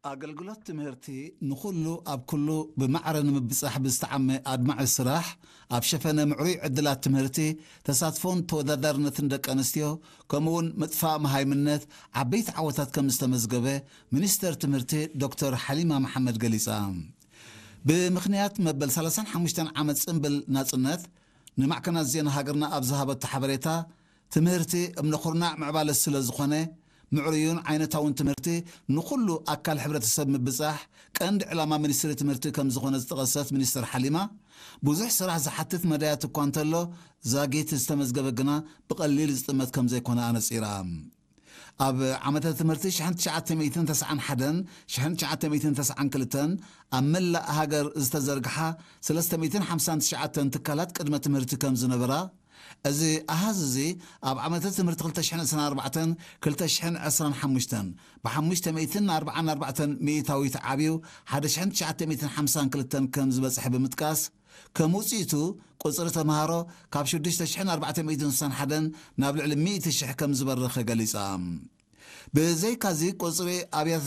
ኣገልግሎት ትምህርቲ ንኹሉ ኣብ ኩሉ ብማዕረ ንምብጻሕ ብዝተዓመ ኣድማዒ ስራሕ፣ ኣብ ሸፈነ ምዕሩይ ዕድላት ትምህርቲ፣ ተሳትፎን ተወዳዳርነትን ደቂ ኣንስትዮ፣ ከምኡውን ምጥፋእ መሃይምነት ዓበይቲ ዓወታት ከም ዝተመዝገበ ሚኒስተር ትምህርቲ ዶክተር ሓሊማ መሓመድ ገሊጻ። ብምኽንያት መበል ሰላሳን ሓሙሽተን ዓመት ጽምብል ናጽነት ንማዕከናት ዜና ሃገርና ኣብ ዝሃበቶ ሓበሬታ፣ ትምህርቲ እምነ ኩርናዕ ምዕባለ ስለ ዝኾነ፣ ምዕሩዩን ዓይነታውን ትምህርቲ ንኹሉ ኣካል ሕብረተሰብ ምብጻሕ ቀንዲ ዕላማ ሚኒስትሪ ትምህርቲ ከም ዝኾነ ዝጠቐሰት ሚኒስትር ሓሊማ፣ ብዙሕ ስራሕ ዝሓትት መዳያት እኳ እንተሎ፣ ዛጊት ዝተመዝገበ ግና ብቐሊል ዝጥመት ከም ዘይኮነ ኣነጺራ። ኣብ ዓመተ ትምህርቲ ሽሕን ትሽዓተ ሚእትን ተስዓን ሓደን ሽሕን ትሽዓተ ሚእትን ተስዓን ክልተን ኣብ መላእ ሃገር ዝተዘርግሓ ሰለስተ ሚእትን ሓምሳን ትሽዓተን ትካላት ቅድመ ትምህርቲ ከም ዝነበራ፣ እዚ ኣሃዝ እዚ ኣብ ዓመተ ትምህርቲ ክልተ ሽሕን ዕስራን ኣርባዕተን ክልተ ሽሕን ዕስራን ሓሙሽተን ብሓሙሽተ ሚእትን ኣርባዓን ኣርባዕተን ሚእታዊት ዓብዩ ሓደ ሽሕን ትሽዓተ ሚእትን ሓምሳን ክልተን ከም ዝበጽሐ ብምጥቃስ፣ ከም ውጽኢቱ ቁጽሪ ተምሃሮ ካብ ሽዱሽተ ሽሕን ኣርባዕተ ሚእትን ስሳን ሓደን ናብ ልዕሊ ሚእቲ ሽሕ ከም ዝበረኸ ገሊጻ። ብዘይካዚ ቁጽሪ ኣብያተ